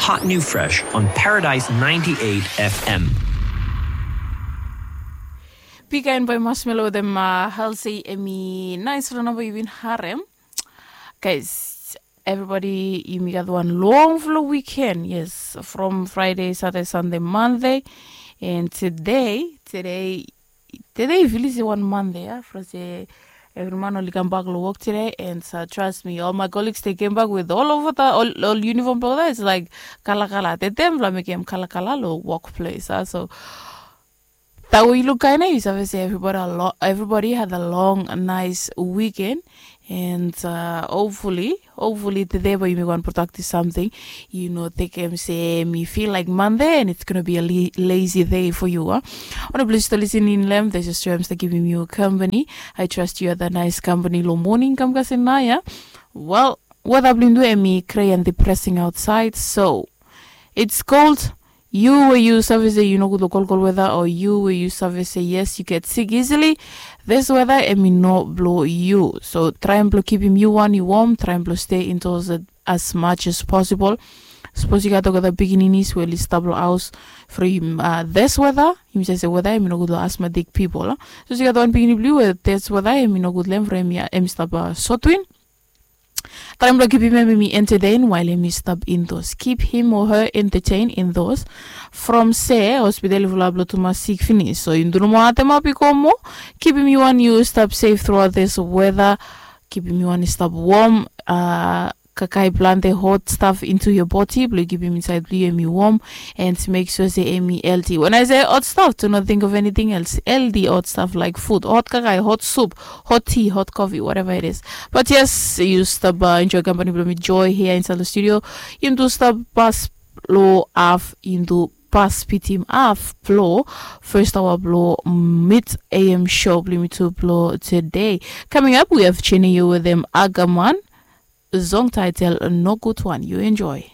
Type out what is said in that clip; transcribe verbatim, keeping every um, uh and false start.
Hot new fresh on Paradise ninety-eight F M. Bikain boy Marshmello wetem uh, Halsey, emi nais lo namba yu bin harem. Guys, everybody, yumi gat wan long flo weekend. Yes, from Friday, Saturday, Sunday, Monday. And today, today, today, if you listen one Monday, yeah, from say every man only come back to work today. And uh, trust me, all my colleagues, they came back with all over the all, all uniform powder. It's like kala kala. They dem la make them kala kala lo workplace. Uh, so that way you look kind of, you have to say everybody, a lo- everybody had a long, nice weekend. And uh, hopefully, hopefully today by you make one productive something. You know, take him say me feel like Monday and it's gonna be a le- lazy day for you. Huh? On a please to listen in them. There's a streams that giving you company. I trust you are the nice company. Lo morning come kasi na ya. Well, what up lindu emi cray and depressing outside. So it's called you where you save say you no good lo cold cold weather, or you where you save say yes, you get sick easily. This weather emi no blo you. So try and blo keep him you one you warm, try and blo stay indoors as much as possible. Suppose you got together bigininis where li stable house for him uh, this weather. Him say say weather emi no good lo asthmatic people. Huh? So you got one bigini blue where this weather emi no good lem for him, emi stop uh, sotwin. Try blo keep him emi entertain while emi stop indoors. Keep him or her entertained indoors. From se hospital i fulap lo tuma sick finish. So you do no more atem up i komo. Keep him you and you stop safe throughout this weather. Keep him you and stop warm. Uh, kakai plante hot stuff into your body blo keep him inside blo emi warm. And make sure say emi healthy. When I say hot stuff, do not think of anything else. Healthy hot stuff like food, hot kakai, hot soup, hot tea, hot coffee, whatever it is. But yes, you stop uh, enjoy company blo me joy here inside the studio. You do stop pass lo af into pass pitim af blo first hour blo mid A M show blo me to blo today. Coming up, we have Cheney you with them Agaman. Zong title no good one. You enjoy.